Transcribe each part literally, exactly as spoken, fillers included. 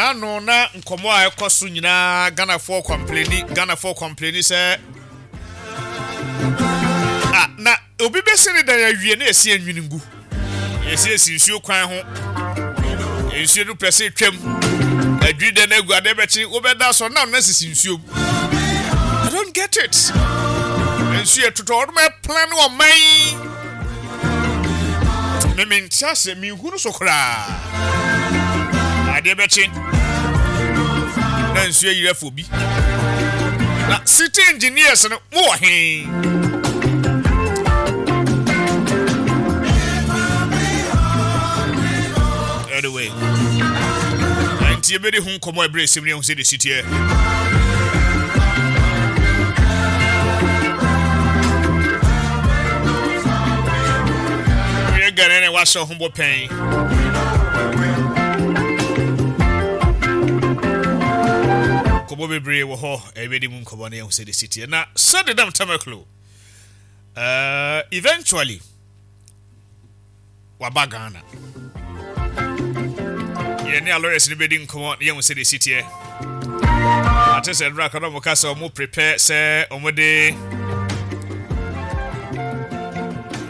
N'ano na nkɔmɔ a ɛkɔ so nyinaa, Ghanafoɔ complaini, Ghanafoɔ complaini sɛ ah, na obi bɛsi ne dan awie na yɛsi anwini ngu, yɛsi esi nsuo kwan ho, nsuo no pɛ sɛ twam adwiri dɛ no agu adeɛ bɛkye wobɛda so na ɔno asisi nsuo mu. I don't get it. Nsuo yɛ totɔ ɔno ɛplan ɔman me me nte ase, menhunu so koraa. Adeɛ bɛkye na nsuo ayiri afɔ bi na city engineers no mowɔ he? Anyway, nti yɛbɛdi ho nkɔmmɔ ɛberɛ ɛsɛm ne ɛho sɛ de siteɛ. Woyɛ Ghana ne wahyɛ ho bɔ pɛn. Nkɔmmɔ bebree wɔ hɔ, ɛbɛdi mu nkɔmmɔ ne ɛho sɛ de siteɛ. Na sɛde dam Tamaklo uh, eventually waba Ghana, yɛne a lawyers no bɛdi nkɔmmɔ na yɛhu sɛ de si teɛ. Ate sɛ nnora ka na ɔmo ka sɛ ɔmo prepare sɛ ɔmo de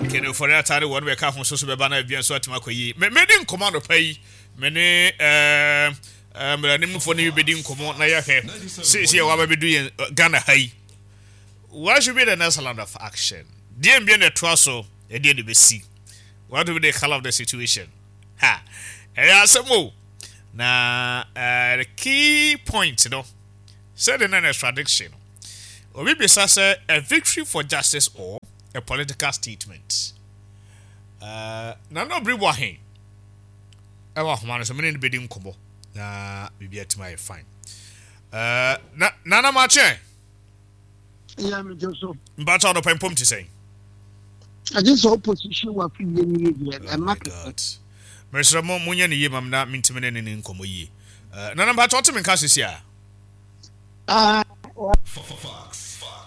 kenofɔre atare wɔn bɛka ho so so bɛba na ebia nso atumi akɔ yie. Mɛdi nkɔmmɔ anɔpa yi, me ne ɛɛ mmeranimfoɔ no bi bɛdi nkɔmmɔ na yɛahwɛ seesei a waba bɛdu yɛn Ghana ha yi, what should be the next line of action? Deɛ mbia na ɛtoa so, ɛdeɛ na ɛbɛsi? What will be the color of the situation? Ha, ɛyɛ asɛm o. Na uh, the key point no sɛde na extradition no, obi bisa sɛ a victory for justice or a political statement? uh, na na obiri bɔ ahen ɛwɔ ahoma no so, mene no bɛdi nkɔmmɔ na biribi atumi ayɛ fine. uh, na Nana makyɛ. Yeah, me just so. Mpakyɛ, ɔdɔpɛ mpom te sɛn? I just saw opposition wa fi ye ni ye Oh my God. Mesrɛ mo, monyɛ ne yie mam na mentumi ne ne ne nkɔmmɔ yie. Uh, nana mpakyɛ, ɔte me nka sesi a? Ah.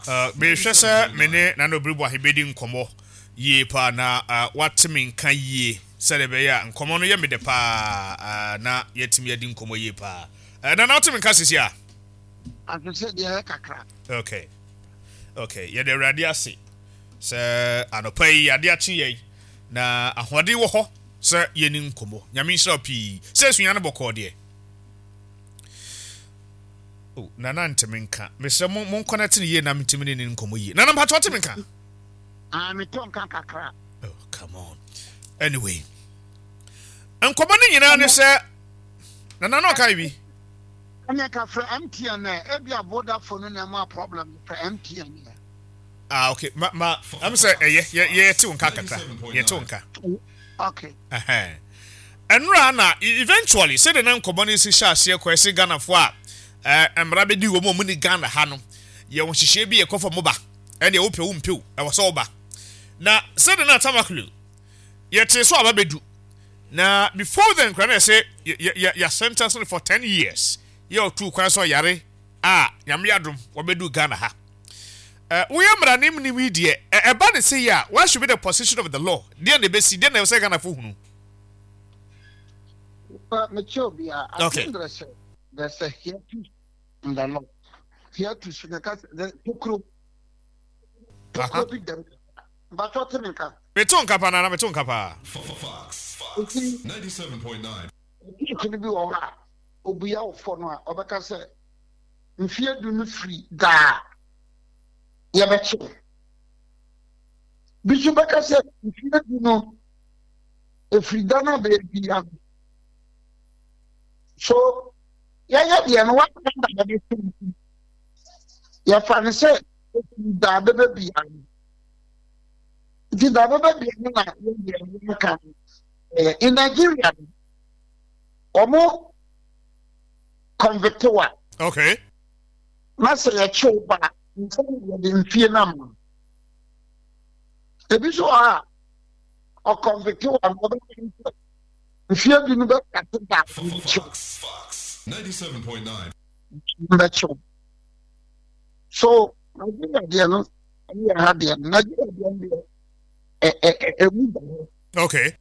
Uh, mehwɛ sɛ me ne Nana Obiri Boahe bɛdi nkɔmmɔ yie paa na uh, wate me nka yie sɛdeɛ ɛbɛyɛ a nkɔmmɔ no yɛ me dɛ paa, uh, na yɛatumi adi nkɔmmɔ yie paa. uh, nana wote me nka sesi a? Ase deɛ kakra. okay okay yɛde Awurade ase sɛ anɔpa yi ade akye yɛn na ahoɔden wɔ hɔ sɛ yɛni nkɔmmɔ. Nyame nhyira wo pii sɛ asua no bɔkɔɔ deɛ. Oh, Nana nteme nka. Mesrɛ mo, monkɔnɛte no yie na metumi ne ne nkɔmmɔ yie. Nana mpakyɛ, wote me nka? Ah, me to nka kakra. Oh, come on. Anyway, nkɔmmɔ no nyinaa ne sɛ Nana na ɔkae bi. Ɛne ka frɛ M T N ɛ, ebi a Vodafone na ɛma problem, frɛ M T N ɛ. Ah, okay. Ma ma am sɛ ɛyɛ yɛ yɛte wo nka kakra, yɛte wo nka. Okay. Ɛhɛn. Ɛnora na eventually sɛdeɛ na nkɔmmɔ no si hyɛ aseɛ kɔ, ɛsɛ Ghanafoɔ a ɛɛ mmara bɛdi wɔn a wɔn ni Ghana ha no, yɛwɔ nhyehyɛeɛ bi yɛkɔ fam ba, ɛnna wopɛ wo mpew, ɛwɔ sɛ woba. Na sɛdeɛ na Tamaklo yɛte so aba bɛdu na before then kora na yɛsɛ yɛ yɛ yɛ sentence no for ten years, yɛ ɔtu kwan sɛ ɔyare a Nyame adom wɔbɛdu Ghana ha. Ɛ woyɛ mmaranim nim yi deɛ, ɛ ɛba ne se yɛ a, what should be the position of the law? Deɛ na ɛbɛsi, deɛ na ɛwɔ sɛ Ghanafoɔ hunu? But me obi a, I Okay. think there's a there's a hiatus in the law. Hiatus na ka the tokuro. Aha. Tokuro bi dɛm. But what me nka? Meto nka paa, Nana, meto nka paa. Fox, Nti ninety-seven point nine. Hiatus no bi wɔ hɔ a obua wo fɔ no a, ɔbɛka sɛ mfie du no firi daa yɛbɛkye wo. Bi nso bɛka sɛ mfie du no efiri da no a bɛyɛ no. So yɛyɛ deɛ no waka da bɛbɛkye wo. Yɛfa no sɛ efiri da bɛbɛ bia no. Nti da bɛbɛ bia no na yɛdeɛ no yɛka no. Ɛyɛ in Nigeria no, wɔn convict wa okay na sɛ yɛkye wo ba a, nsa yɛde mfie no ama wo. Ebi nso wɔ hɔ a ɔconvict wa no, ɔbɛka sɛ mfie du no bɛkate da a wɔbɛkye wo. Fox, ninety-seven point nine. Bɛkye wo. So Nigeria deɛ no ɛne yɛ ha deɛ no, Nigeria deɛ no deɛ ɛ ɛ ɛ emu da hɔ. Okay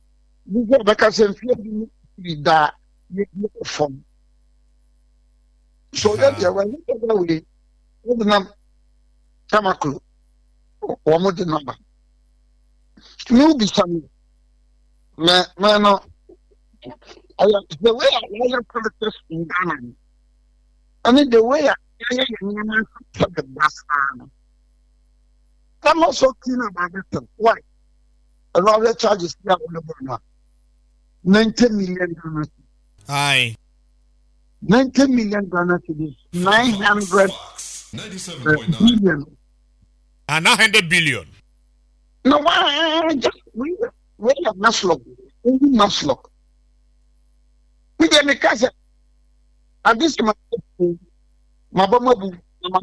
bi sɛ ɔbɛka sɛ mfie du no firi da yɛdi fam. So yɛ deɛ wɔn ani bɛbɛ wei wɔde nam tamaklo wɔn de naba ne wobisa mi mɛ mɛ no ɛyɛ the way a wɔyɛ politics in Ghana no ɛne the way a yɛyɛ yɛn nneɛma nso de basaa no. I'm not so keen about this thing. Why? A lot of charges here on the board. ninety million Ghana cedis. Aye. ninety million Ghana cedis. nine hundred uh, billion. Ah, nine hundred billion. No, why? Just we we are MASLOC. We MASLOC. We get me cousin. At this my mama, my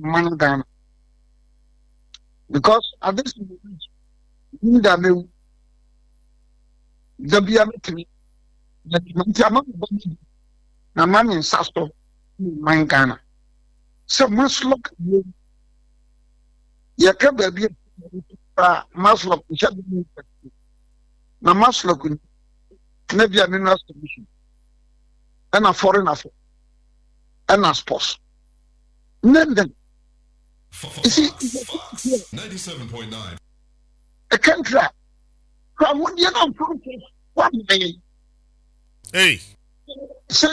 mama, Ghana. Because at this moment, that me the bia me nti ama na ma me nsa so man Ghana sɛ MASLOC yɛka baabi a MASLOC nhyɛ na MASLOC na bia mineral solution ɛna foreign affairs ɛna sports. Name them. You see, ninety-seven point nine. A country. Hey. So,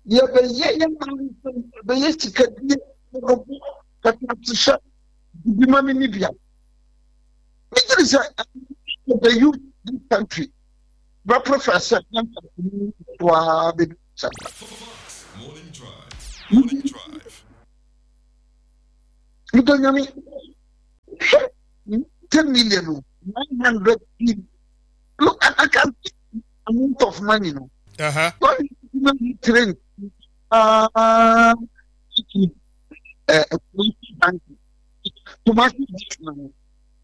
yeah, but yeah, yeah, but yes, the youth this country. But professor, Morning Drive. Morning Drive. You don't know me. ten million, nine hundred billion. Look, I, I can't see amount of money now. Uh-huh. What is train? Uh, uh,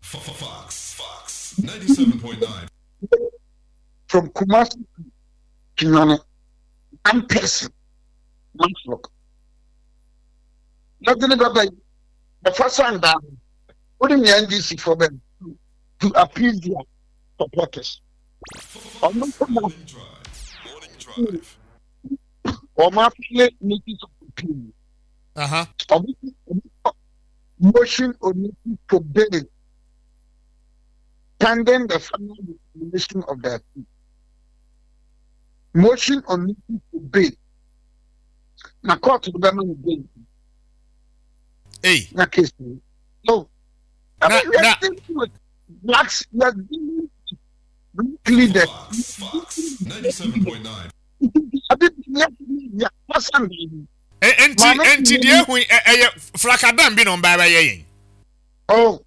Fox, Fox, ninety-seven point nine. From Kumasi to Kinyane, one person, one flock. Nothing about the first one down. What do the N D C for them to appease their supporters? Morning Drive. Morning Drive. Or my notice of appeal. Uh huh. Motion or notice for bail pending the final determination of the appeal. Motion on notice for bail. Na court will be bail. Hey. Na case. No. I Na, mean, we are na. dealing with blacks, we are dealing with leaders. Fox, Fox, ninety-seven point nine. Enti, enti, dear, we, eh, Flakadam bin on Baba Yang. Oh,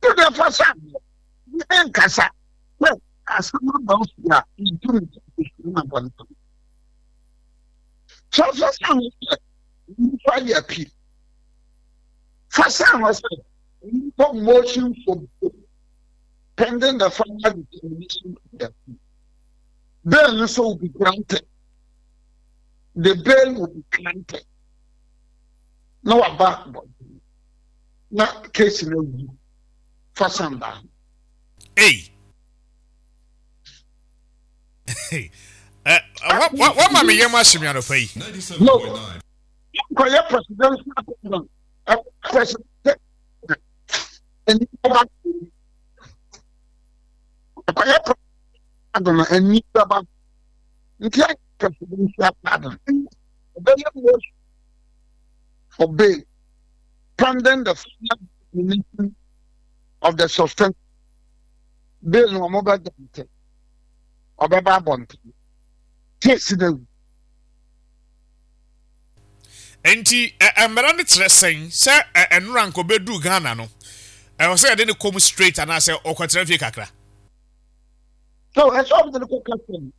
to the first time, Kasa. Well, as someone else, yeah, you do it. So, first time, you file your appeal. First time, I said, motion for pending the final determination of the appeal. Bail also will be granted. The bail will be granted. No about not case in the first and down. Hey. Hey. Uh, what what what mammy you must be on a pay? No. Presidential president. And presidential pardon. For bail, pending the final determination of the suspension. Bail no more than Obeba bond. Case the Enti mmara ne kyerɛ sɛn sɛ ɛnora nko bedu Ghana no. I was saying I didn't come straight and I said, "Oh, kakra." So I saw the question.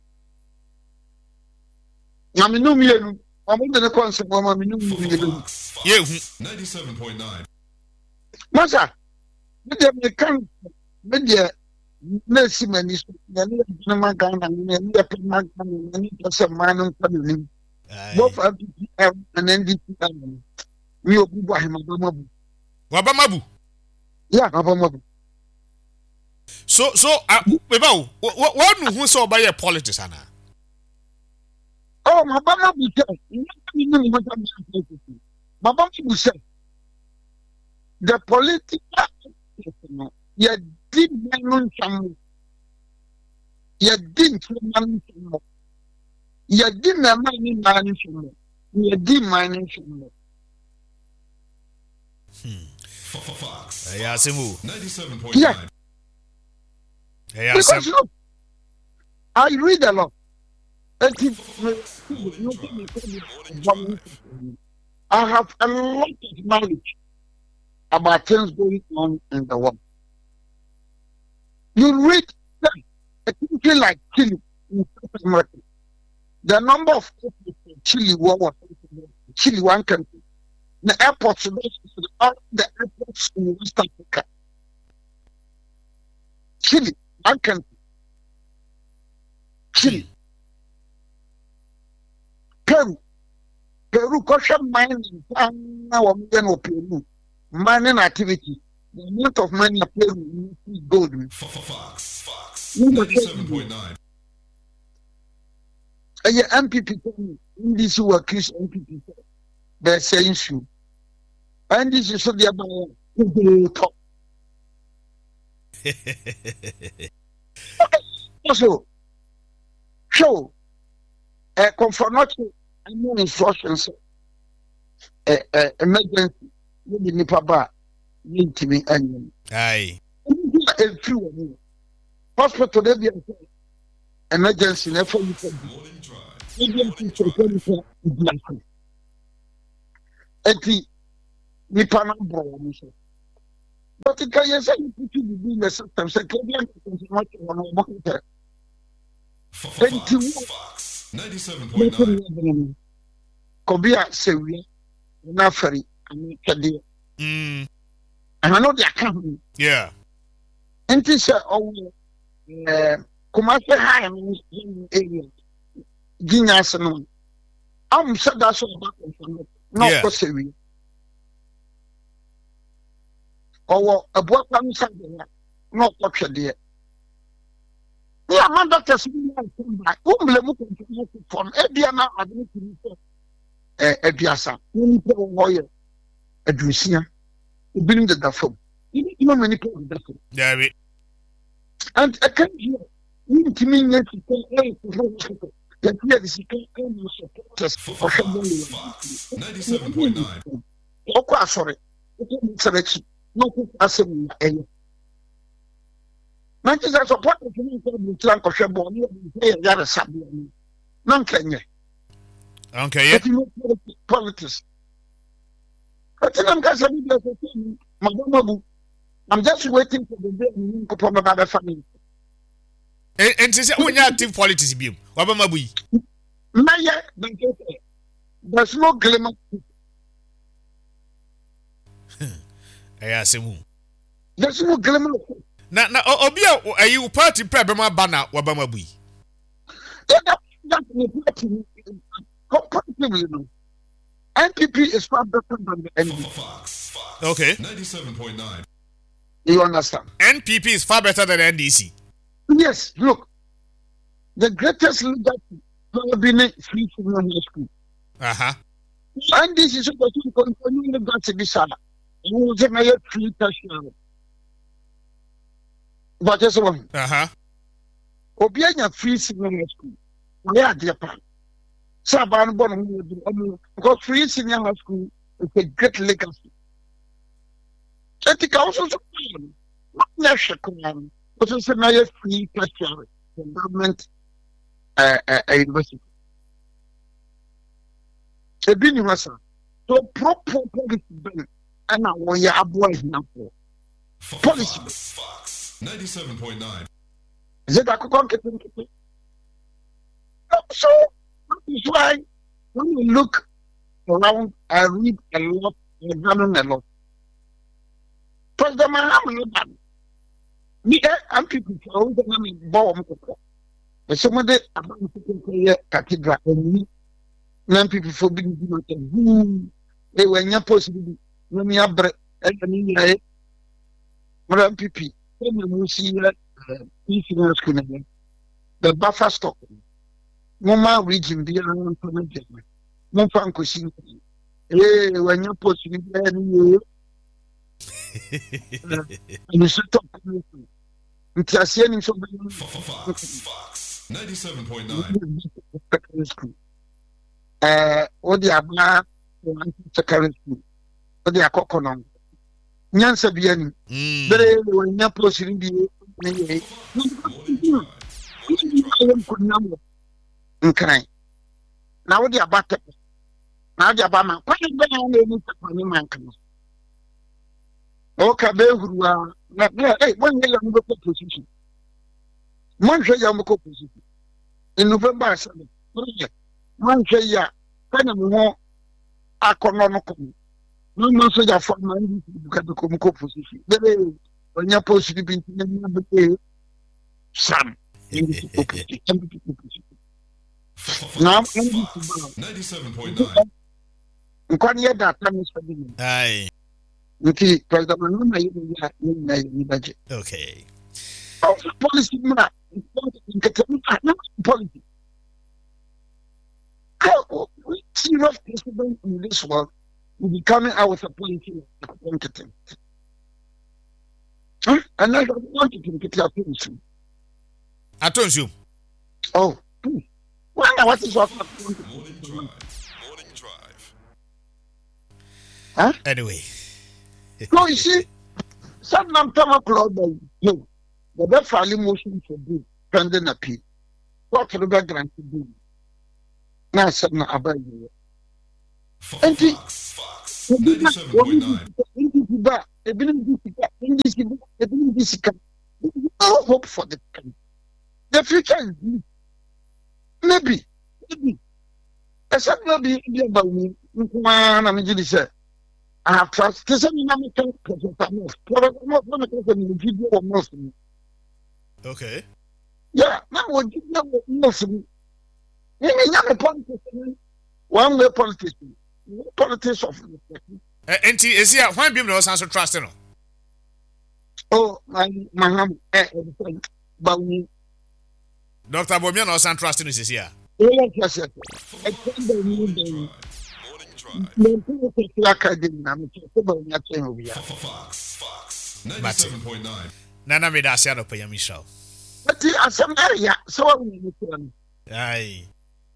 Na me no mienu, omo de ne konse mo me no mienu. Ye ninety-seven point nine. Masa, me de me kan me de na si mani so, na ne na ma Ghana ne ne pe ma Ghana ne ne se ma no nka ni. Both N P P and N D P. Mi obu bo ahema ba mabu. Wa ba mabu. Yeah, ba mabu. So so uh, weba wo wo nu hu so ba ye politics ana. Oh, Oh, maba ma bu sɛ maba ma bu sɛ the political no, yɛdi mma no nsɛm, yɛdi nkyɛnma no nsɛm, yɛdi mmarima ne mmaa no nsɛm, yɛdi mman no nsɛm. Ɛyɛ asɛm o. Yeah. Ɛyɛ Because asɛm. look, I read a lot. Eti I have a lot of knowledge about things going on in the world. You read a country like Chile in South America, the number of people in Chile were Chile, one country. The airports, all the airports in West Africa. Chile, one country. Chile. Peru. Peru, kɔhwɛ mining paa wɔn yɛ no wɔ Peru. Mining activity. The amount of money a Peru gold mu. Fox. Fox. Number ninety-seven point nine. Ɛyɛ N P P tɛm, N D C wɔ accuse N P P sɛ bɛsɛ nsuo. N D C so deɛ ba yɛ bebree tɔ. So hwɛ o, ɛ Komfo Anokye ɛmu instruction sɛ ɛ ɛ emergency yɛde nipa ba a yɛntumi ɛnyɛ no. Aye. Ɛnu a efiri wɔn mu hospital de bi a sɛ emergency na ɛfɛ nipa bi Morning Drive. Ebi a sɛ ɛfɛ nipa bi ase, eti nipa no abɔ wɔn so, but nka yɛ sɛ nipa ti bibi in the system sɛ kebi a Komfo Anokye wɔn wɔn kɛtɛ enti wo Fox. bɛtɛ ninety-seven point nine. Ne yɛ no kɔbi a sɛ wia na afɛri ana twɛdeɛ Mm. ɛhɛn no de aka ho. Yeah. Nti sɛ ɔwɔ ɛɛ Kumase high no area ginya ase no am sɛ da so ɔba Komfo no na Yeah. ɔkɔ sɛ wia ɔwɔ abuakwa no sa deɛ na ɔkɔ twɛdeɛ ne ama doctors bi yɛ nsɛm ba wommle mu Komfo no fɔ no ebia na ade no tumi sɛ ɛɛ aduasa na nipa wɔ hɔ yɛ aduosia, ebinom deda fam, ebi tumi ama nipa deda fam. Dabi. And ɛka deɛ wontumi nyɛ sika ɛnkɔhɔ hospital, yɛte yɛde sika ɛma supporters ɔhwɛ bɔɔlo. Fox. ninety-seven point nine. Ɔkɔ asɔre, wokɔ nsɛm akyi na ɔkɔ asɛm na ɛyɛ na nti sɛ supporters no nkɔ aburokyira nkɔhwɛ bɔɔlo ne yɛde sɛ yɛ yaresabea no na nka nyɛ. Okay. Yeah. Ɛti no politics ɛti na nka sɛ bi deɛ sɛ sɛ mabɔmabu, I'm just waiting for the day ne nkɔpɔ bɛba bɛfa me. Nti sɛ wonya active politics biom, wabɛma bu yi. Mɛyɛ bɛnkɛ sɛ there's no glimmer. Ɛyɛ asɛm o. There's no glimmer. Na na o- obi a o- ɛyi wo party pɛ bɛma ba na wabɛma bu yi. Yeah, that, that the party, comparatively, no, N P P is far better than the N D C. Fox. Fox. Okay. ninety-seven point nine. You understand? N P P is far better than N D C. Yes, look, the greatest leader will be free senior high school. Uh-huh. N D C is supposed to continue legacy this summer. You will say, free tertiary. But just one. Uh-huh. Obi anya free senior high school. Wɔyɛ adeɛ pa. Sɛ abaa no bɔ ne ho yɛ ɔmo because free senior high school is a great legacy. Eti ka woso so paa no, wɔnyɛ hwɛ koraa no, woso sɛ na yɛ free tertiary for government uh, uh, uh, university. Ebi ni hɔ saa. So pro pro policy bɛn ɛna wɔyɛ aboa ahiafoɔ? Policy. Fox. Fox. ninety-seven point nine. Is it akokɔ nketenkete? So that is why when you look around, I read a lot, I examine a lot. President Mahama eba no, ni ɛ N P P fo a wɔn na mi bɔ wɔn kɔkɔ. Ɛsɛ mo de aba nketenkete yɛ cathedral ɛni na N P P fo bi di ma tɛ huu ewu ɛnya post bi bi na mi abrɛ ɛyɛ ne nyinaa yɛ mo de N P P ɛna mo si yɛ ɛɛ senior school na yɛ the buffer stock. Moma region biara mfa no aduane. Momfa nkɔsi nkran. Ee, wanya post no biara ne yie. Nsu tɔ nti aseɛ nim sɛ ɔbɛnya Fox ninety-seven point nine. Secondary school. Ɛɛ, wode aba secondary school. Wode akɔkɔ no. Nyansa bi anim. Mm. Bere wanya post no bi ne yie. Nkran. Na wode aba tɛ. Na wode aba ma. Kwan bɛn na ɛni sɛ ne ma nkran. Ɔka bɛhuru a na na ɛ wɔnyɛ yɛn mo bɛkɔ position. Monhwɛ yɛn mo bɛkɔ position. In November seven. Monhwɛ yi a sɛnea mo ho akɔnɔ no kɔ no. Na mo nso yɛ afɔ ma N D C buka bɛkɔ mu kɔ position. Bere wɔnyɛ post bi nti na nyɛ bere sam. N D C kɔ position. N D C kɔ position. Na N D C ba ninety-seven point nine. Nkwa no yɛ da ata ne sɛ bi mu. Aye. Nti President Mahama yɛ ne yɛ a yɛn nyinaa yɛ ni bɛgye. Okay. Ɔfa policy mu a nkete mu a na policy. How serious president in this world will be coming out with a policy nkete? Huh? And I want to nkete ato nsu. Ato nsuom. Oh, wɔn na wɔte sɛ ɔfa Morning Drive. Morning Drive. Huh? Anyway. So you see, some nam tama club by you. The best file motion for bail pending appeal. Court no bɛ grant bail. Na asɛm na aba yi. Nti Fox. Fox ebi na ninety-seven wɔn point di nine. sika, N D C ba, ebinom di sika, N D C ba, ebinom di sika. There is no hope for the country. The future is bleak. Maybe, maybe. Except maybe ebi aba wu nko ara na megye di sɛ I have trust. Te sɛ mi na meka Professor Mills. Professor Mills na meka sɛ mewɔ gyidie wɔ Mills mu. Okay. Yeah, na mewɔ gyidie wɔ Mills mu. Me me nya me politics ni one way politics ni. Politics of respect. Eh, nti esi a hwan bi na ɔsan so trust no? Oh, my Mahama eh eh Bawumia. Doctor Bawumia na ɔsan trust no sisi a. Oh, yes yes yes. Ɛkyɛn Bawumia Bawumia. Morning Drive. Mɛ mpɛ sɛ aka de na mɛ sɛ Bawumia kyɛn obiara. Fox. Fox Mate. ninety-seven point nine. Nana, meda ase anɔpa, Nyame nhyira wo. Ɛti asɛm ɛyà sɛ wɔn nyɛ kyerɛ no. Aye.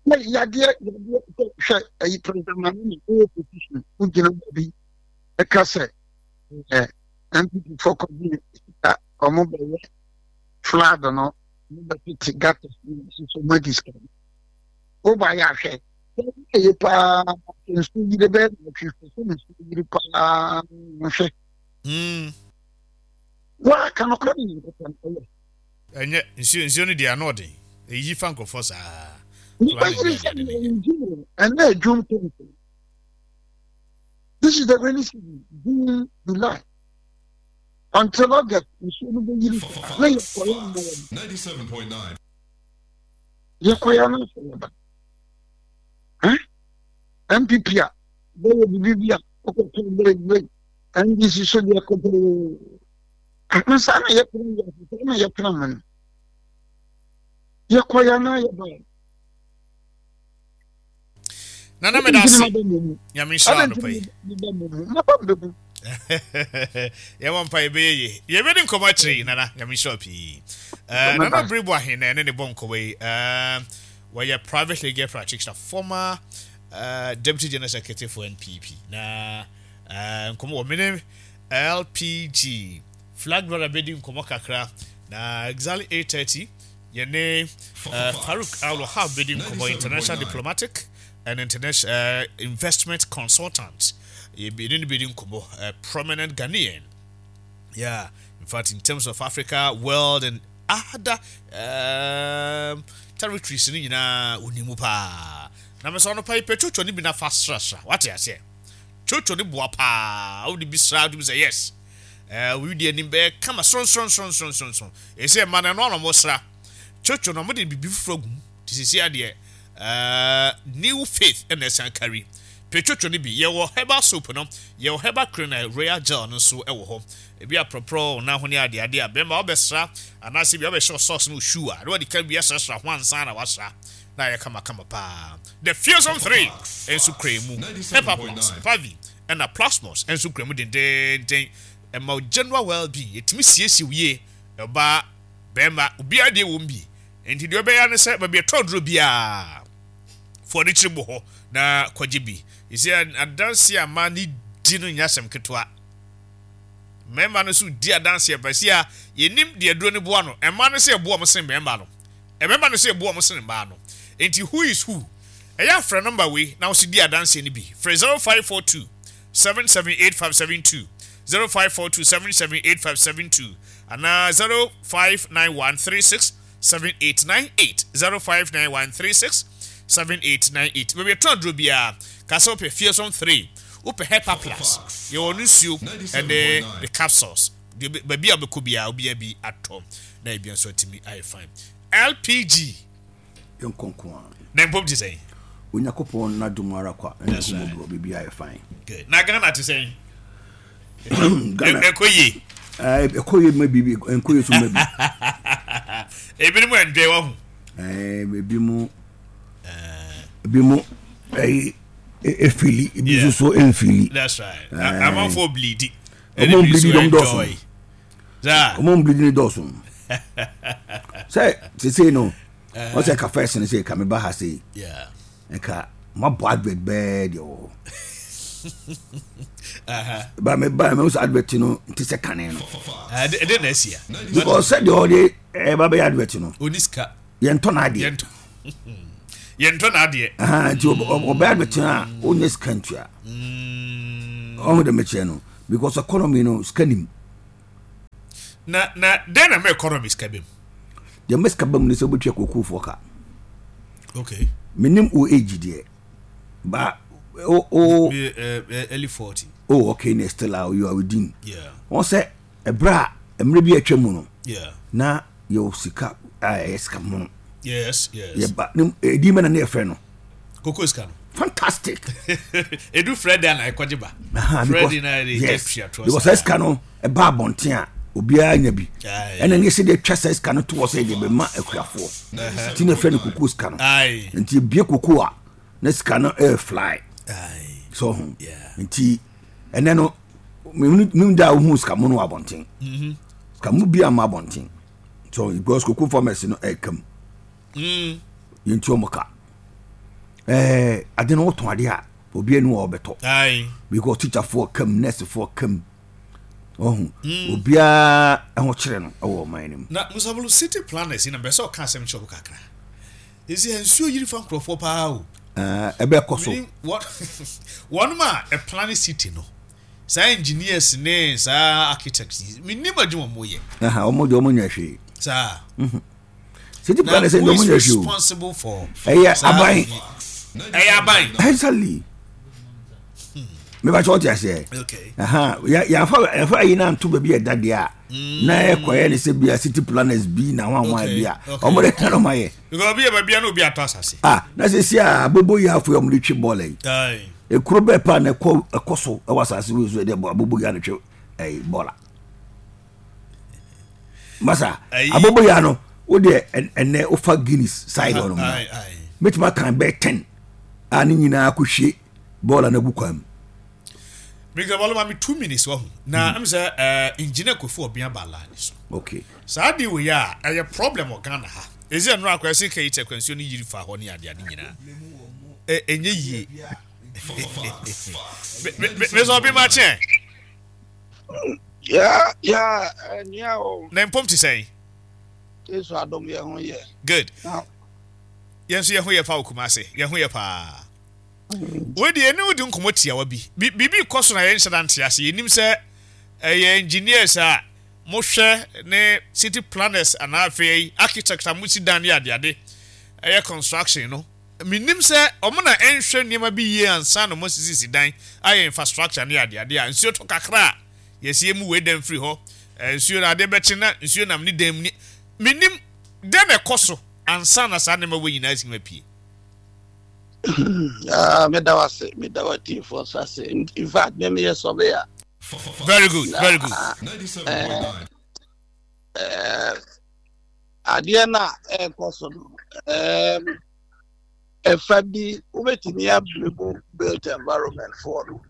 Na yadeɛ yadeɛ sɛ hwɛ ɛyi President Mahama ɛyɛ position wogyina baabi ɛka sɛ ɛ N P P fɔ kɔgye sika ɔmo bɛyɛ flood no, ɔmo bɛtete gutters no soso ɔmo adi sika no woba yɛ ahwɛ ɛyɛ paa nsu yiri bɛyɛ na ɔtwe so nsu yiri paa nhwɛ. Mm. Wɔaka no kora ne Nyankopɔn ɛyɛ. Ɛnyɛ nsuo nsuo no deɛ ano ɔden. Ɛyi fa nkurɔfoɔ saa. Nipa yiri sɛ June ɛnna June twenty. This is the rainy season, June, July until August, nsuo no bɛ yiri saa na yɛ kɔyɛ mmoa Fox ninety-seven point nine. Yɛ kɔyɛ no sɛ yɛba N P P a bɛyɛ bibi bi a ɔkɔtɔ bɛyɛ bɛyɛ N D C so deɛ kɔtɔ na saa na yɛtena yɛ saa na yɛtena mu no yɛkɔyɛ na yɛba. Nana, meda ase. Nyame nhyira wo anɔpa yi. Maba mbɛbu. Yɛwɔ mpa yɛbɛyɛ ye. Yɛbɛdi nkɔmmɔ akyire yi, Nana. Nyame nhyira wo pii. Eh, Nana Biribu ahe na ɛne ne bɔ nkɔmmɔ yi. Eh, wɔyɛ private legal practitioner, former uh, deputy general secretary for N P P. Na uh, nkɔmmɔ wɔ mene L P G flag bearer bɛdi nkɔmmɔ kakra na exactly eight thirty yɛne uh, Farouk Al Wahab bɛdi nkɔmmɔ, international diplomatic and international uh, investment consultant. Yɛne no bɛdi nkɔmmɔ, uh, prominent Ghanaian. Yeah, in fact, in terms of Africa, world and other um, territories no nyinaa onimu paa. Na mesɛ ɔno pa yi pɛ twotwo no bi na fa srasra wate aseɛ. Twotwo no boa paa, wode bi sra wode bi sɛ yes, ɛɛ obi di anim bɛyɛ kama soronsoronsoronsoronso. Ɛsɛ mma no ɛno ano mo sra twotwo no, ɔmo de biribi foforɔ agu mu te sisi adeɛ ɛɛ New Faith ɛna ɛsan kari Petwotwo no bi, yɛwɔ herbal soap no, yɛwɔ herbal cream na royal gel no nso wɔ hɔ. Ebi aprɔprɔ na ho ne adeade a bɛrima wobɛsra anaasɛ bi wobɛhyɛ socks no shoe a na wɔde ka bi asrasra ho ansa na wasra na ayɛ kamakama paa. The Fearsome Three nso kura mu, Hepa Plus, Pavi ɛna Plasmos nso kura mu dendenden. Ɛma wo general well-being, yɛtumi siesie wo yie. Ɔbaa, bɛrima, obiara deɛ wɔ mu bi. Nti deɛ ɔbɛyɛ ne sɛ baabi ɛtɔ duro biara fo ne kyerɛ bɔ hɔ na kɔgye bi. Ɛsɛ adanse a mmaa ne di no nyɛ asɛm ketewa. Mmarima no nso di adanse pɛsi a yɛnim deɛ duro no boa no. Mmaa no sɛ ɛboa wɔn sen mmarima no, mmarima no sɛ ɛboa wɔn sen mmaa no. Nti who is who? Ɛyɛ afrɛ number wei na wɔsi di adanse no bi. Frɛ zero five four two seven seven eight five seven two, zero five four two seven seven eight five seven two anaa zero five nine one three six seven eight nine eight, zero five nine one three six seven eight nine eight. Baabi ɛtɔn aduro biara kasa wopɛ Fearsome Three, wopɛ Hepa Plus, yɛwɔ no nsuo ɛne the capsules. Baabi a wobɛkɔ biara obiara bi atɔ na ebi nso atumi ayɛ fine. L P G na mpom te sɛn? Onyankopɔn n'adom ara kwa ɛna ɛho biribi ayɛ fine. Good. Na Ghana te sɛn? Ghana ɛkɔ yie. Ɛkɔ yie ma biribi, ɛnkɔ yie so ma bi. Ebinom ɛndwɛ wɔ ho. Ebi mu ebi mu ɛyi efili, ebi nso so ɛnfili. That's right. Amanfoɔ bleedi. Ɔmo bleedi dɔm dɔɔso. Ɔmo bleedi ni dɔɔso. Sɛ sese no, wɔn sɛ ka first no sɛ ka mi ba ha se. Nka ma bɔ advert bɛɛ deɛ wɔ hɔ. Ba mi ba mi sɛ advert no nti sɛ kane no. Ɛde na ɛsi ya. Because sɛ deɛ ɔde ɛba bɛyɛ advert no. Oni sika. Yɛn tɔ n'adeɛ. Yɛn tɔ n'adeɛ. Nti ɔbɛyɛ advert no a ɔnyɛ sika ntua. Ɔho de mekyerɛ no because economy no sika nim. Na na den na mɛ economy sika bɛm. Deɛ mɛ sika bɛm ne sɛ wobɛtua kokofoɔ ka. Okay. Menim o age deɛ. Ba o o. Me, uh, early forty. Oh, okay, ne still uh, you are within. Yeah. Wɔn sɛ ɛbrɛ a mmerɛ bi atwa mu no. Yeah. Na yɛ sika a ɛyɛ sika mono. Yes, yes. Yɛ ba ne edi mɛ na ne yɛ fɛ no. Koko sika no. Fantastic. Edu Fred na ɛkɔgye ba. Fred na yɛ yes. Because sika no ɛba abɔnten a obiara nya bi. Ɛna ne yɛ sɛ de atwa sɛ sika no to wɔ sɛ de bɛma akuafoɔ. Ti na fɛ no koko sika no. Nti ebie koko a na sika no ɛyɛ fly. So ho. Nti ɛnɛ no mimi da ohun sika mu no wɔ abɔnten. Sika mu bi ama abɔnten. So because koko farmers no ɛkam. Yɛn ti wɔn ka. Ɛɛ ade no wɔtɔn ade a obi anu a ɔbɛtɔ. Because teacher foɔ kam, nurse foɔ kam. Ɔho obiara ɛho kyerɛ no ɛwɔ ɔman no mu. Na Musabulu city planners na bɛsɛ ɔka asɛm kyerɛ kakra. Esi nsuo yiri fa nkurɔfoɔ paa o. Ɛɛ ɛbɛ kɔ so. Wɔn a ɛplan city no, saa engineers ne saa architects, minim adwuma mo yɛ. Ɛha wɔn deɛ wɔn nyɛ hwee. Saa. City planners deɛ wɔn nyɛ hwee o. Responsible for. Ɛyɛ aban. Ɛyɛ aban. Exactly. Meba kyɛ ɔte aseɛ. Okay. Aha, yɛafa yɛafa ayi na nto baabi a ɛda deɛ a. Na ɛkɔyɛ ne sɛ bia city planners bi na wɔn a wɔn bi a. Wɔn de kan wɔn ayɛ. Because obi yɛ baabi a na obi atɔ asase. Ah, na sɛ si a abobo yi afɔ yɛ wɔn de twe bɔɔl yi. Ekuro bɛɛ paa na ɛkɔ ɛkɔ so ɛwɔ asase wo so ɛde abobo yi ano twe ɛyi bɔɔl a. Masa, abobo yi ano o deɛ ɛnɛ ofa Guinness side hɔ nom. Mɛtuma kan bɛɛ ten a ne nyinaa kɔ hwie bɔɔl a na gu kwan mu. Mr. Baloma, me two minutes wahu. Na mm. sɛ uh, engineer Kofi Obia ba line so. Okay. Saa de we a ɛyɛ problem wɔ Ghana ha. Ezi ɛnura akɔ ɛsɛ kɛyi tɛ kwansuo ne yiri fa hɔ ne ade ade nyinaa. Ɛ ɛnyɛ yie. Mr. Obi ma kyɛn. Ya ya ɛnia o. Na mpom ti sɛn? Yesu adom yɛ ho yɛ. Good. Yɛn nso yɛ ho yɛ pa wɔ Kumase. Yɛn ho yɛ paa. We deɛ ne wodi nkɔmmɔ tiawa bi. Biribi kɔ so na yɛnhyɛ da nte ase. Yɛnim sɛ ɛyɛ engineers a mohwɛ ne city planners anaa afei architect a mosi dan ne adeade ɛyɛ construction no. Menim sɛ ɔmo na ɛnhwɛ nneɛma bi yie ansa na ɔmo asisisi dan ayɛ infrastructure ne adeade a nsuo tɔ kakra a yɛsi emu wei dan firi hɔ. Nsuo na adeɛ bɛkye na nsuo nam ne dan mu ne menim dɛn na ɛkɔ so ansa na saa nneɛma wei nyinaa si ma pie. Ah, meda wo ase, meda wo atiefoɔ nso ase. In fact, me meyɛ surveyor. Very good, very good. Eh, eh, adeɛ no a ɛrekɔ so no, um, ɛfa bi wobɛtumi abrɛ mu built environment foɔ no,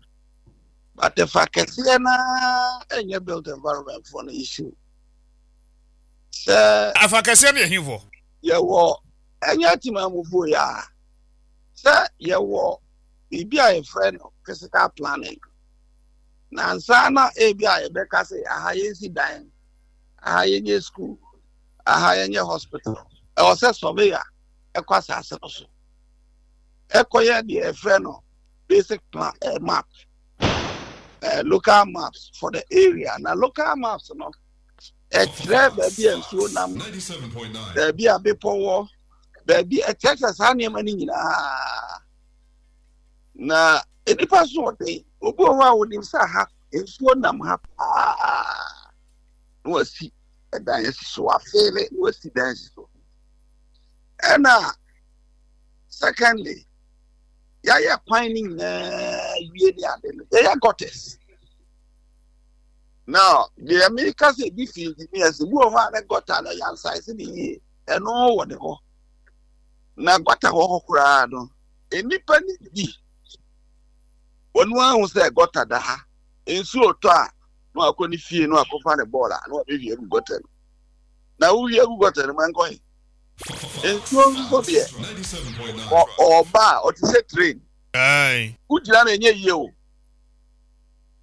but ɛfa kɛseɛ naa ɛnyɛ built environment foɔ no issue. Sɛ afa kɛseɛ no yɛ hefoɔ? Yɛwɔ ɛnyɛ timamufoɔ yi a, sɛ yɛwɔ biribi a yɛfrɛ no physical planning, na nsa na ebi a yɛbɛka sɛ aha yɛnsi dan, aha yɛnyɛ school, aha yɛnyɛ hospital, ɛwɔ sɛ surveyor ɛkɔ asase no so ɛkɔyɛ deɛ yɛfrɛ no basic plan, eh, map, eh, local maps for the area. Na local maps no ɛkyerɛ baabi a nsuo nam, baabi a bepɔ wɔ, baabi ɛkyerɛkyerɛ saa nneɛma no nyinaa. Na nnipa so ɔden, obi wɔ hɔ a onim sɛ ha nsuo nam ha paa, na wasi ɛdan asi so, wafeele na wasi dan asi so. Ɛna secondly, yɛayɛ kwan no nyinaa wie ne ade no, yɛyɛ gutters. Now deɛ meka sɛ ebi fi engineers bi wɔ hɔ a, ne gutter no yɛnsaese ne yie, ɛno wɔ ne hɔ. Na gutter wɔ hɔ koraa no, nnipa ne bi wɔn ahu sɛ gutter da ha, nsuo tɔ a, na wakɔ ne fie na wakɔfa ne bɔɔl a na wabɛhwie agu gutter no. Na wohwie agu gutter no mu, ɛnkɔ he? Nsuo nso deɛ, ɔɔba a ɔte sɛ train, wogyina no ɛnyɛ yie o.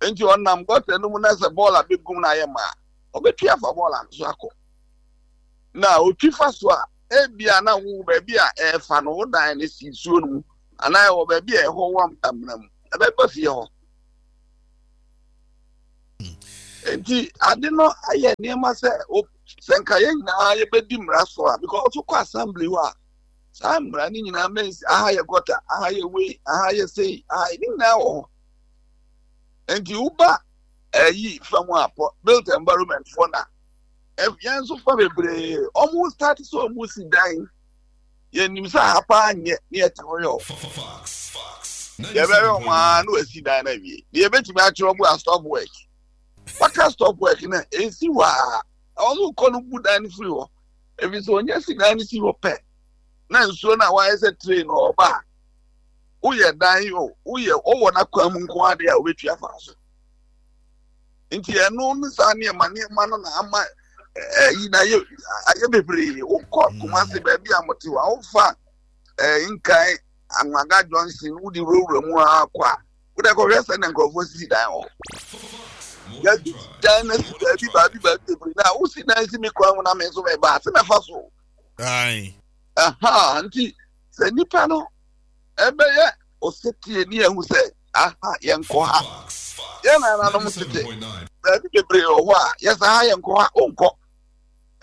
Nti ɔnam gutter no mu na sɛ bɔɔl a bɛgum no ayɛ ma a, ɔbɛtwi afa bɔɔl ano so akɔ. Na otwi fa so a, ebia na wo baabi a ɛɛfa no, wo dan no si nsuo no mu anaa ɛwɔ baabi a ɛhɔ wɔ amena mu, ɛbɛba fie hɔ. Nti ade no ayɛ nneɛma sɛ sɛ nka yɛn nyinaa yɛbɛdi mmara so a, because wokɔ assembly hɔ a, saa mmara no nyinaa mɛnsi aha yɛ gutter, aha yɛ wei, aha yɛ sei, aha ne nyinaa wɔ hɔ. Nti woba ɛyi fam a, built environment foɔ na yɛn nso fa bebree, ɔmo start sɛ ɔmo si dan, yɛnim sɛ aha paa nyɛ ne yɛte hɔ yɛ o, yɛbɛyɛ ɔmo ara na wɔasi dan no awie. Deɛ yɛbɛtumi akyerɛ ɔmo a, stop work, waka stop work na esi hɔ a, ɔmo kɔ no bu dan no firi hɔ, ebi sɛ ɔnyɛ si dan no si hɔ pɛ na nsuo no a wayɛ sɛ train ɔba a, woyɛ dan yi o, woyɛ ɔwɔ n'akwan mu nko adeɛ a, wobɛtwi afa so. Nti ɛno ne saa nneɛma nneɛma no na ama ɛyi na ayɛ ayɛ bebree. Wokɔ Kumase baabi a mote hɔ a, wofa ɛɛ Nkan Anwaga Junction, wode wurawura mu akɔ a, wode kɔhwɛ sɛ ne nkurɔfoɔ sisi dan wɔ, yɛde dan no si baabi baabi baabi bebree. Na wosi dan si mi kwan mu na me nso mɛba ase mɛfa so. Aha, nti sɛ nipa no ɛbɛyɛ osetie ne ehu sɛ aha yɛnkɔ ha, yɛn nananom tete baabi bebree wɔ hɔ a yɛsɛ ha yɛnkɔ ha, onkɔ.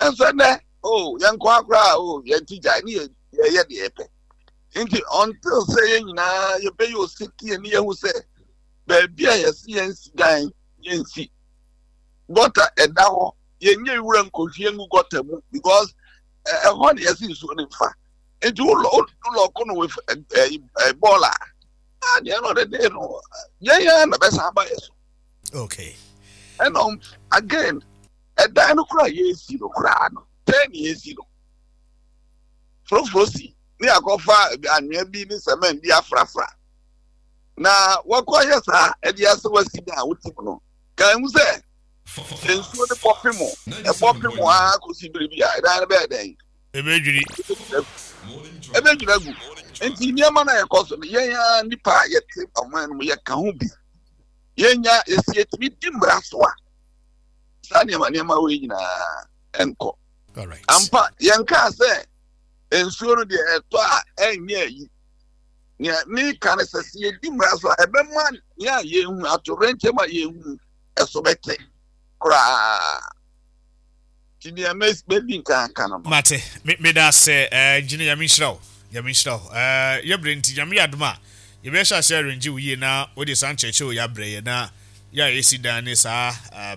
Nso ɛnɛ o, yɛnkɔ ha koraa o, yɛn ti gyae ne yɛ yɛyɛ deɛ yɛpɛ. Nti until sɛ yɛn nyinaa yɛbɛyɛ osetie ne yɛhu sɛ baabi a yɛsi yɛn si dan, yɛnsi gutter ɛda hɔ, yɛnyɛ wura nkɔhwie ngu gutter mu, because ɛhɔ ne yɛsi nsuo ne nfa. Nti wulɔ wulɔ no with ɛɛ ɛɛ bɔɔl a, at the end of the day no, yɛn yɛn na bɛsan aba yɛ so. Okay ɛna again, ɛdan no koraa yɛsi no koraa no, tɛn ne yɛsi no foroforo si ne akɔfa anwea bi ne cement bi afrafra na wɔkɔ yɛ saa ɛde ase wasi dan a wote mu no, kan hu sɛ nsuo no bɔ pem ɛbɔ pem a kɔsi biribi a, ɛdan no bɛyɛ dɛn? Ɛbɛdwiri. Ɛbɛdwiri agu. Nti nneɛma no a yɛkɔ so no, yɛn a nipa a yɛte ɔman no mu, yɛka ho bi. Yɛnya yɛsi yɛtumi di mmara so a, saa nneɛma nneɛma wɔ yi nyinaa ɛnkɔ. Ampa, yɛnkaa sɛ nsuo no deɛ ɛtɔ a ɛnyɛ ayi. Nea meka no sɛ sɛ yɛdi mmara so a, ɛbɛma nea yɛhu atorenkyɛm a yɛhu ɛso bɛte koraa. Nti nea mɛdi nka aka no no Mate, meda ase, engineer. Nyame nhyira wo, Nyame nhyira wo. Yɛbrɛ nti, Nyame yɛ adom a, yɛbɛhyɛ ase arrange wo yie na wode saa nkyerɛkyerɛ wɔ yɛabrɛ yɛ na yɛ a yɛsi dan ne saa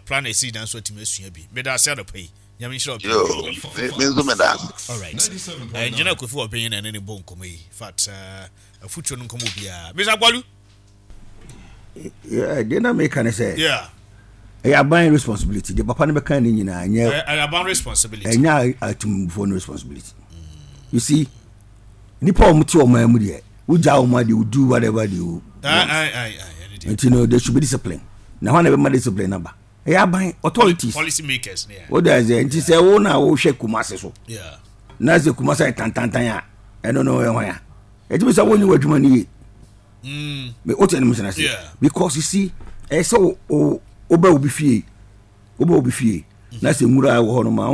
plan a yɛsi dan so atumi asua bi. Meda ase anɔpa yi. Nyame nhyira wo pii. Yo, me me nso meda ase. All right. Engineer Kofi Obeng na ɛne ne bɔ nkɔmmɔ yi. In fact, uh, afutuo no nkɔmmɔ biara. Mister Agbalu. Yeah, deɛ na meka ne sɛ Yeah. ɛyɛ aban responsibility. Deɛ papa no bɛka ne nyinaa nyɛ. Ɛyɛ aban responsibility. Ɛnyɛ atumfoɔ no responsibility. You see, nipa a wɔn te ɔman mu deɛ, wogya wɔn a, they will do whatever they will Aye, want. aye, aye, aye. Ɛne deɛ. Nti no, there should be discipline. Na hɔn na bɛma discipline naba? Ɛyɛ aban authorities. Policy makers. Yeah. O de sɛ nti sɛ wo na wohwɛ Kumase so Yeah. na sɛ Kumase ayɛ tantantan a, ɛno no ɛyɛ hwan a ɛtumi sɛ wonyi w'adwuma no yie? Mm. Me o tɛ ne mu sena se Yeah. because you see, ɛyɛ sɛ wo wo wobɛ obi fie wobɛ obi fie na sɛ nwura a ɛwɔ hɔ no ma